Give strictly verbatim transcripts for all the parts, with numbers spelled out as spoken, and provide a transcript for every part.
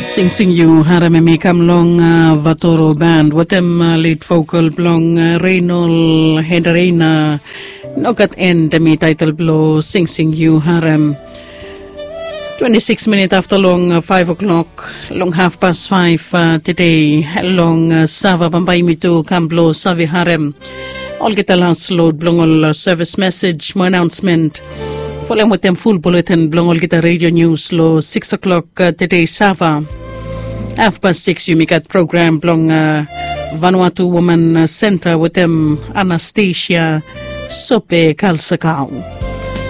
Singsing yu harem em i kam long uh, Vatoro Band wetem uh, lead vocal blong uh, Reinol Henderina. No gat end em i title blo Singsing yu harem. Twenty-six minit afta long uh, five o'clock long half past five uh, today long uh, Sava bambae yumi tu kam blo save harem olgeta last load blong ol uh, service message mo announcement. Folem wetem full bulletin blong olgeta radio news lo six o'clock uh, today Sava. Half past six yumi gat program blong uh, Vanuatu Woman uh, Center wetem Anastasia Sope Kalsakau.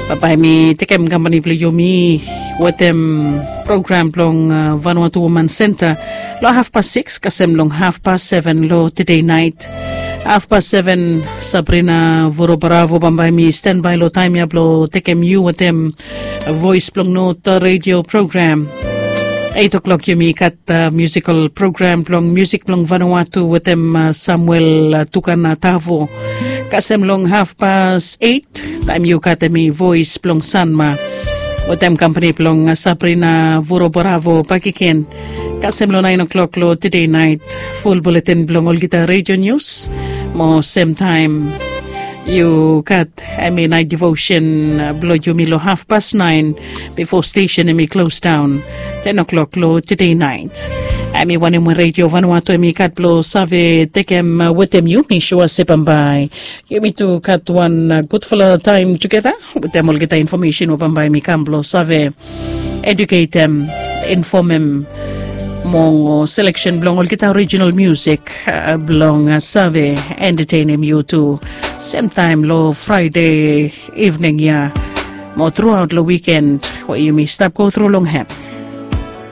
Bambae mi tekem kampani blong yumi wetem program blong uh, Vanuatu Woman Center lo half past six kasem long half past seven lo today night. Half past seven Sabrina Vorobaravo bambae mi standby lo taem ya blo tekem yu wetem Voice blong North radio program. Eight o'clock yumi gat uh, musical program blong music blong Vanuatu wetem uh, Samuel uh, Tukana Tavo. Kasem long half past eight taem yu gat em i Voice blong Sanma wetem kampani blong uh, Sabrina Vorobaravo bakegen. Kasem long nine o'clock lo today night full bulletin blong olgeta radio news mo sem taem yu gat em i night devotion uh, blo yumi lo half past nine bifo station em i close down ten o'clock lo today night. Em i wanem we radio Vanuatu em i gat blo save tekem uh, wetem yu mi sua se bambae yumi tu gat wan uh, gudfala taem tugeta wetem olgeta infomesen we bambae mi kam blo save eduketem infomem mo seleksen blong olgeta original musik uh, blong uh, save entetenem yu tu semtaem lo Fraede evening ya mo truaot lo wikend we yumi stap go tru long hem.